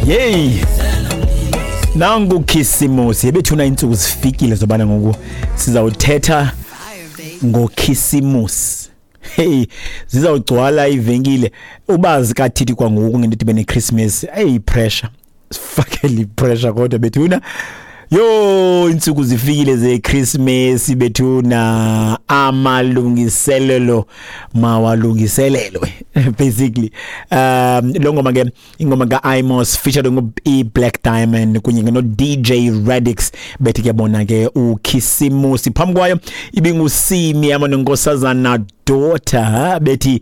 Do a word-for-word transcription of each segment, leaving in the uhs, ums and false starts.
Hey, nangu Khisimusi ebethuna iintsuku zifikile zobana ngoku sizawuthetha ngoKhisimusi. Hey, zizawugcwala ivenkile ubazi kathithi kwangoku ngento ibe neChristmas. Hey, pressure, sifakele pressure kodwa bethuna. Yo, iintsuku zifikile zeChristmas bethuna, amalungiselelo mawalungiselelwe basically. Um lo ngoma ke ingoma kaImos featured ngo Black Diamond kunye no D J Radix bethi ke bona ke uKhisimusi. Phambi kwayo ibingusimi yama nonkosazana daughter bethi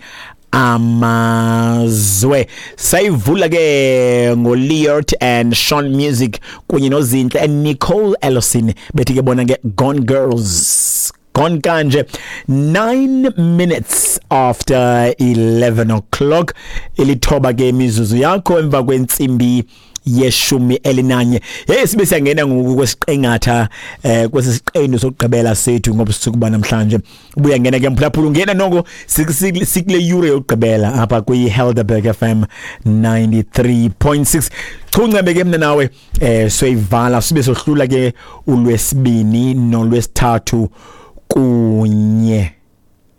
Amazwe. Sayivula ke ngoLeot and Sean Music kunye noZinhle and Nicole Ellison bethi ke bona ke Gone Girls. Gone kanje nine minutes after eleven o'clock, ilithoba ke imizuzu yakho emva kwentsimbi yeshumi elinanye. Hey, sibe siyangena ngoku kwesiqengatha eh kwesiqendu sokugqibela sethu ngobusuku banamhlanje. Ubuya ngena ke mphulaphula, ungena noko sikule yure yokugqibela apha kwi Helderberg F M ninety-three point six. Chungcembe ke mina nawe eh soyivala sibe sohlula ke ulwesibini nolwesithathu kunye.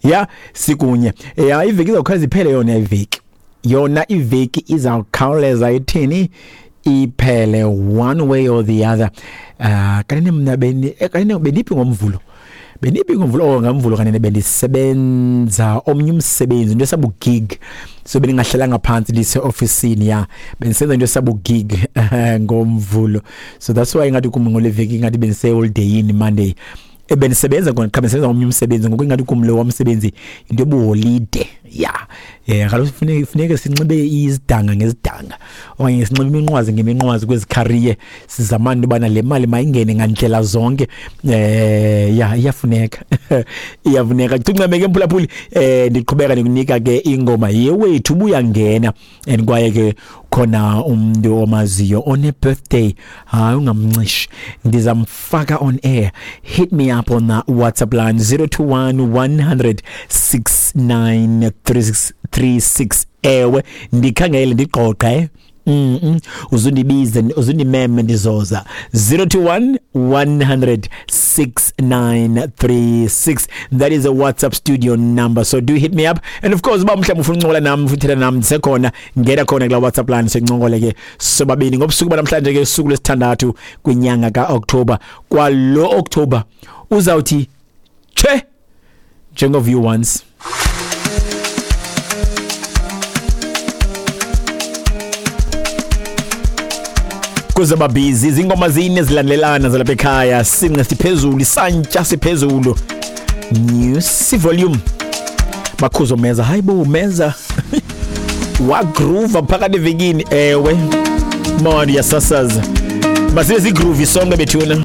Ya, sikunye. Ya, iveki izawukhawuleza iphele yona iveki. Yona iveki izawukhawuleza ithini? Iphele one way or the other. Uh kanene mna beni kanene beniphi ngomvulo. Beniphi ngomvulo oh ngamvulo kanene bendisebenza omnye umsebenzi into esabu gig. So beningahlalanga phansi ndise officeini ya. Bendisenza into esabu gig ngomvulo. So that's why ngathi kum ngole veki ngathi bendise holiday in Monday. Ebenisebenza kona qha bendisenza omnye umsebenzi ngoku ingathi kum lo womsebenzi into ebuholide. Ya, eh kaloku funeke funeke sinxibe izidanga ngezidanga okanye sinxibe iminqwazi ngeminqwazi kwezi career, sizamane ubana le mali mayingene ngandlela zonke. Eh ya, iyafuneka iyafuneka. Cincame ke mphulaphuli, eh ndiqhubeka ndikunika ke ingoma yewethu ubuya ngena and kwaye ke khona umuntu omaziyo one birthday, hayi ungamncishi, ndizamfaka on air. Hit me up on the WhatsApp line zero two one one hundred six nine three six three six. Ewe ndikhangele ndiqoqe mm -mm. Uzundibize uzundimeme ndizoza zero two one one hundred six nine three six. That is a WhatsApp studio number, so do hit me up. And of course uba mhlawumbe ufuna uncokola nami futhi nami ndisekhona, ngena khona kula WhatsApp line sincokole ke sobabini ngobusuku banamhlanje ke usuku lwesithandathu kwinyanga kaOctober. Kwalo October uzawuthi che njengo view once. Kuzaba busy izingoma zine zilandelana zalapha ekhaya, since siphezulu isantya siphezulu, news volume bakhuzo meza, hayibo meza wa groove phakathi evikini. Ewe manje yasasaza basibe si groove sonke bethuna.